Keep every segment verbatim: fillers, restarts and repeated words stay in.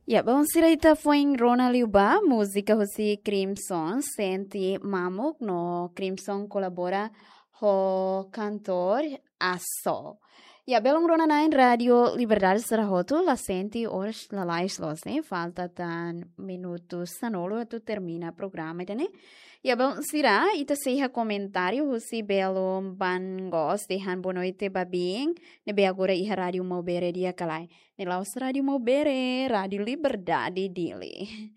Ya, bom, sira, ita foin rona liu ba múzika husi Crimson, Sente Mamuk, no Crimson kolabora ho kantór Aso. Ya, belun rona-na'in Rádio Liberdade sira hotu, la sente oras lalais loos, ne'e? Falta tan minutu sanulu atu termina programa ida-ne'e. Ya, bom, sira, ita sei iha komentáriu husi belun Bangos, dehan boa noite ba biin, ne'ebé agora iha Rádio Maubere di'ak ka lae. Ne'e la'ós Rádio Maubere, Rádio Liberdade Dili.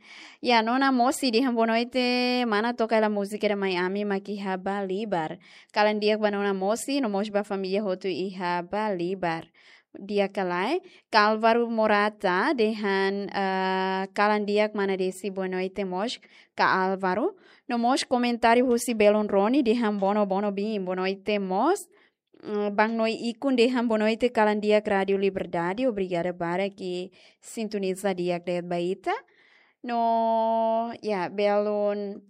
Ya, Nona Mosi dehan boa noite, mana toka hela múzika ida mai ami mak iha Balibar. Kalan di'ak ba Nona Mosi, no mós ba família hotu iha Balibar. Di'ak ka lae, Ka Álvaro Morata dehan, eh, kalan di'ak mana Desi, boa noite mós ka Álvaro. No mós komentáriu husi belun Roni dehan bono bono biin, boa noite mós. Mm, Bang Noi Ikun dehan boa noite, kalan di'ak Rádio Liberdade, obrigada barak sintoniza di'ak de'it ba ita. No, ya, belun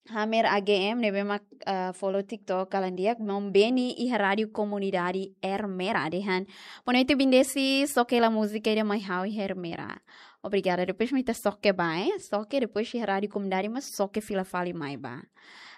Hamer A G M ne'ebé mak, eh, follow TikTok, kalan di'ak, maun Beni iha Rádio Komunidade Ermera dehan. Boa noite biin Desi, soke hela múzika ida mai ha'u iha Ermera. Obrigada, depois mai ita soke ba, eh? Soke, depois iha Rádio Komunidade mak soke fila fali mai ba.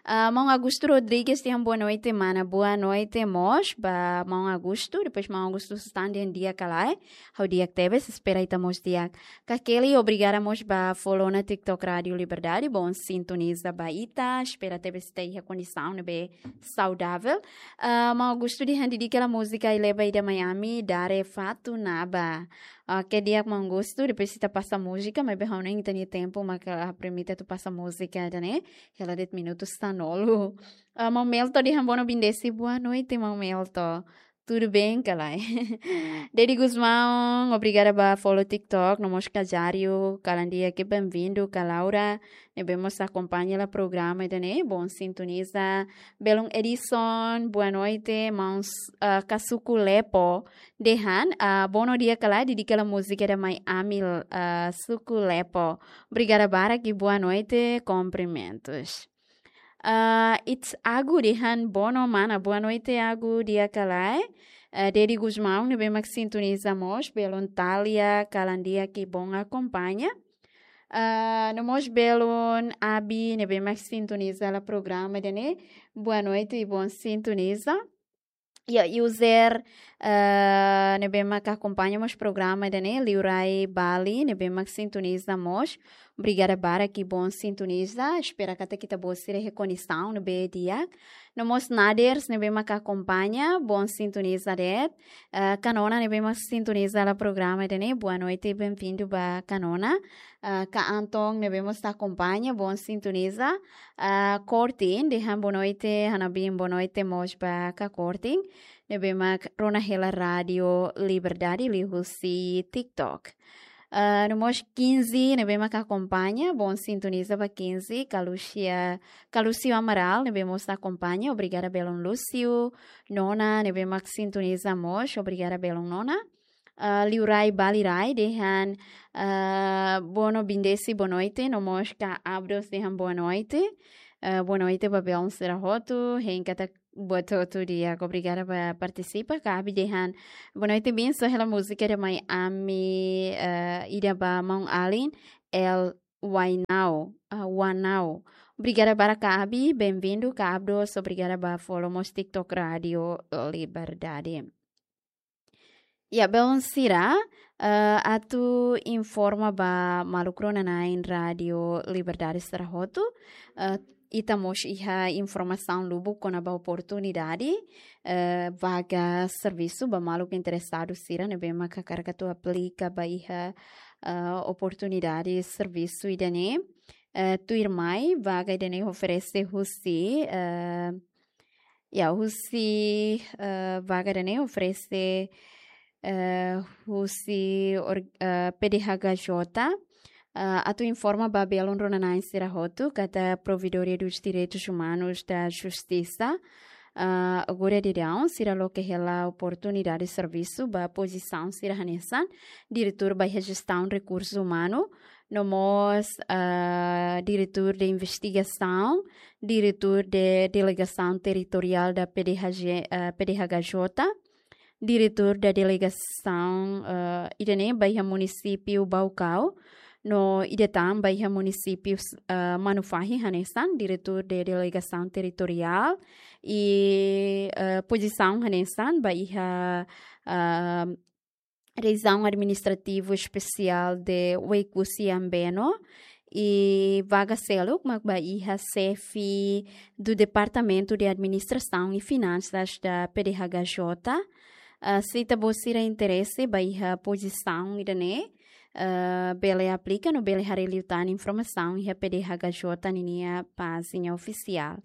Ah, maun Augusto Rodrigues dehan boa noite, mana. Boa noite mós ba maun Augusto. Depois maun Augusto stan dehan di'ak ka lae. Ha'u di'ak tebes, espera ita mós di'ak. Ka Kelly, obrigada mós ba follow ona TikTok Rádio Liberdade. Bom sintoniza ba ita. Espera tebes ita iha kondisaun ne'ebé saudavel. Ah, maun Augusto dehan dedika hela múzika Ai Leba Ida Mai Ami, Dare Fatu Naba. Oke, di'ak maun Augusto, depois ita pasa múzika, maibé ha'u hanoin ita-nia tempu maka la permite atu pasa múzika ida-ne'e. Hela de'it minutu sanulu. Ah, maun Melto dehan bono biin Desi, boa noite, maun Melto. Tudo bem, ka lae? Dedi Gusmão, obrigada ba follow TikTok, no mós Kajario, kalan di'ak, bem-vindo, ka Laura, ne'ebé mós akompaña hela programa ida-ne'e, bom sintoniza. Belun Edison, boa noite, maun, ah, Kasuku Lepo. Dehan, ah, bono di'ak ka lae, dedika hela múzika ida mai ami, ah, Suku Lepo. Obrigada barak, boa noite, cumprimentos. Ah, it's Agu dehan bono mana, boa noite Agu, di'ak ka lae. Ah, Dedi Gusmão ne'ebé mak sintoniza mós, belun Talia, kalan di'ak, bom akompaña. Ah, no mós belun Abi ne'ebé mak sintoniza hela programa ida-ne'e, boa noite, bom sintoniza. Ya, user, eh, ne'ebé mak akompaña mós programa ida-ne'e, Liurai Bali, ne'ebé mak sintoniza mós. Obrigada barak, bom sintoniza. Espera katak ita-boot sira iha kondisaun ne'ebé di'ak. No mós Naders, ne'ebé mak akompaña, bom sintoniza de'it. Eh, Kanona, ne'ebé mak sintoniza hela programa ida-ne'e, boa noite, bem-vindo ba Kanona. Ah, Ka Anton, ne'ebé mós akompaña, bom sintoniza. Ah, Kortin, dehan boa noite, hanabi boa noite mós ba Ka Kortin, ne'ebé mak rona hela Rádio Liberdade liuhusi TikTok. Ah, no mós Quinze, ne'ebé mak akompaña, bom sintoniza ba Quinze, Ka Lúcia, Ka Lúcio Amaral, ne'ebé mós akompaña, obrigada belun Lúcio, Nona, ne'ebé mak sintoniza mós, obrigada belun Nona. Ah, Liurai Balirai dehan, ah, bono biin Desi, boa noite, no mós Ka Abdos dehan boa noite. Ah, boa noite ba belun sira hotu, hein katak buat hotu di'ak, obrigada ba partisipa. Ka Abi dehan, boa noite biin, soke hela múzika ida mai ami, ah, ida ba maun alin, El Wainau, ah, Wanau. Obrigada barak Ka Abi, bem-vindo, Ka Abdos, obrigada ba follow mós TikTok Rádio Liberdade. Ya, belun sira, eh, atu informa ba maluk rona-na'in Rádio Liberdade sira hotu, eh, ita mós iha informasaun lubuk kona-ba oportunidade, eh, vaga servisu ba maluk interesadu sira ne'ebé mak hakarak atu aplika ba iha, eh, oportunidade servisu ida-ne'e. Eh, tuirmai, vaga ida-ne'e oferese husi, eh, ya, husi, eh, vaga ida-ne'e oferese, eh, husi or-, eh, P D H K J, eh, atu informa ba belun rona-na'in sira hotu katak Provedoria dos Direitos Humanos da Justiça, eh, agora daudaun sira loke hela oportunidade servisu ba pozisaun sira hanesan diretór ba iha jestaun rekursu umanu, no mós, ah, diretór de investigasaun, diretór de delegasaun territoriál da P D H G, ah, P D H K J, diretór da delegasaun, eh, ida-ne'e ba iha munisípiu Baucau, no ida tan ba iha munisípiu, eh, Manufahi hanesan, diretór da delegasaun territoriál, i, eh, pozisaun hanesan ba iha, eh, Rejiaun Administrativa Espesiál de Oekusi Ambeno, i vaga seluk mak ba iha xefe do Departamento de Administração e Finanças da P D H K J. Ah, se ita-boot sira interese ba iha pozisaun ida-ne'e, ah, bele aplika no bele haree liután informasaun iha P D H K J ninia pájina ofisiál.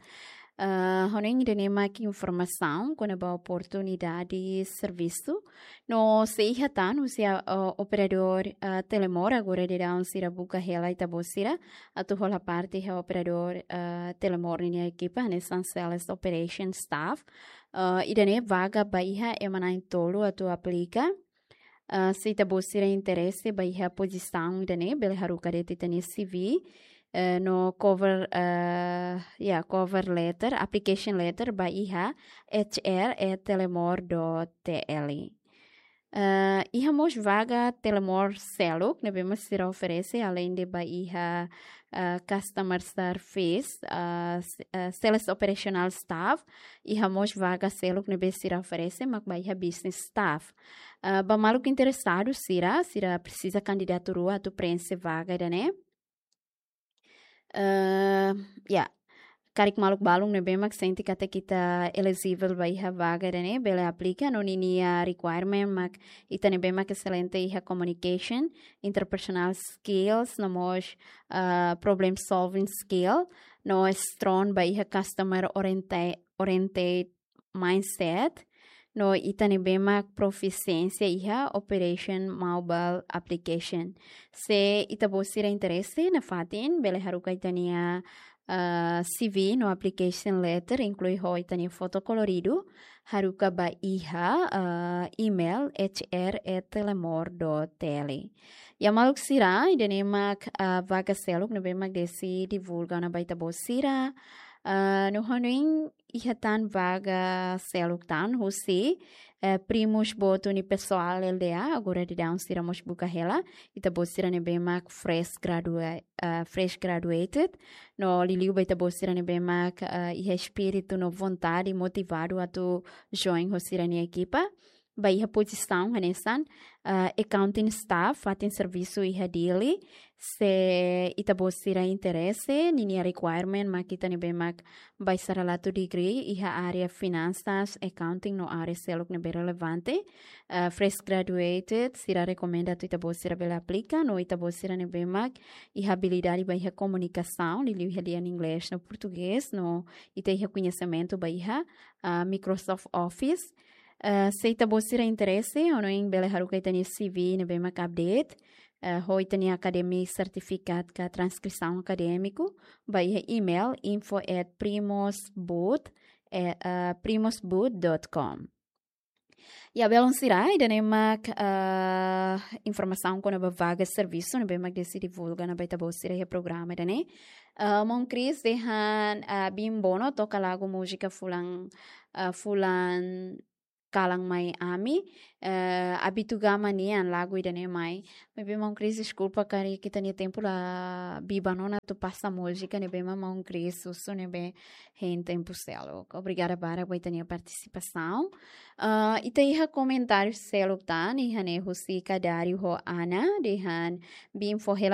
Ah, hanoin ida-ne'e mak informasaun kona-ba oportunidade servisu. No se iha tan husi, ah, operadór, ah, Telemor, agora daudaun sira buka hela ita-boot sira atu hola parte iha operadór, ah, Telemor ninia ekipa, hanesan Sales Operation Staff. Ah, ida-ne'e vaga ba iha ema na'in-tolu atu aplika. Ah, se ita-boot sira interese ba iha pozisaun ida-ne'e, bele haruka de'it ita-nia C V, eh, no cover, eh, ya, cover letter, application letter ba iha H R at telemor dot T L. Eh, iha mós vaga Telemor seluk ne'ebé mak sira oferese, além de ba iha, eh, customer service, eh, s-, eh, sales operational staff, iha mós vaga seluk ne'ebé sira oferese mak ba iha business staff. Ah, ba maluk interesadu sira, sira presiza kandidatu rua atu preenxe vaga ida-ne'e. Eh, ya, karik maluk balun ne'ebé mak sente katak ita eligible ba iha vaga ida-ne'e, bele aplika, no ninia requirement mak ita ne'ebé mak excelente iha communication, interpersonal skills, no mós, eh, problem solving skill, no strong ba iha customer orienta-, oriented mindset, no ita ne'ebé mak profisiénsia iha operation mobile application. Se ita-boot sira interese nafatin, bele haruka ita-nia, ah, C V no application letter, inklui ho ita-nia foto koloridu, haruka ba iha, ah, email H R at telemor dot T L. Ya maluk sira, ida-ne'e mak, ah, vaga seluk ne'ebé mak Desi divulga ona ba ita-boot sira. Ah, no hanoin iha tan vaga seluk tan husi, eh, primos boot unipessoal L D A, agora daudaun sira mós buka hela, ita-boot sira ne'ebé mak fresh gradua-, eh, fresh graduated, no liuliu ba ita-boot sira ne'ebé mak, eh, iha espíritu no vontade motivadu atu join ho sira-nia ekipa. Ba iha pozisaun hanesan, eh, accounting staff, fatin servisu iha Dili, se ita-boot sira interese, ninia requirement mak ita ne'ebé mak bacharelatu degree iha área finansas, accounting no área seluk ne'ebé relevante. Ah, fresh graduated, sira rekomenda atu ita-boot sira bele aplika, no ita-boot sira ne'ebé mak iha abilidade ba iha komunikasaun, liuliu iha lian inglés no portugés, no ita iha koñesimentu ba iha, ah, Microsoft Office. Ah, se ita-boot sira interese, hanoin bele haruka ita-nia C V ne'ebé mak update, eh, ho ita-nia academic certificate ka transkrisaun akadémiku, ba iha email info at primosboot, eh, eh, primosboot dot com. Ya, belun sira, ida-ne'e mak, eh, informasaun kona-ba vaga servisu ne'ebé mak Desi divulga ona ba ita-boot sira iha programa ida-ne'e. Eh, maun Chris dehan, eh, Bimbo no toka lagu múzika fulan, eh, fulan kalan mai ami, eh, Abitugama nian lagu ida-ne'e mai. Maibé maun Chris, deskulpa karik ita-nia tempu la biban ona atu pasa múzika ne'ebé mak maun Chris husu ne'ebé hein tempu seluk. Obrigada barak ba ita-nia partisipasaun. Ah, ita iha komentáriu seluk tan, iha ne'e husi Kadário ho Ana, dehan Bimbo hela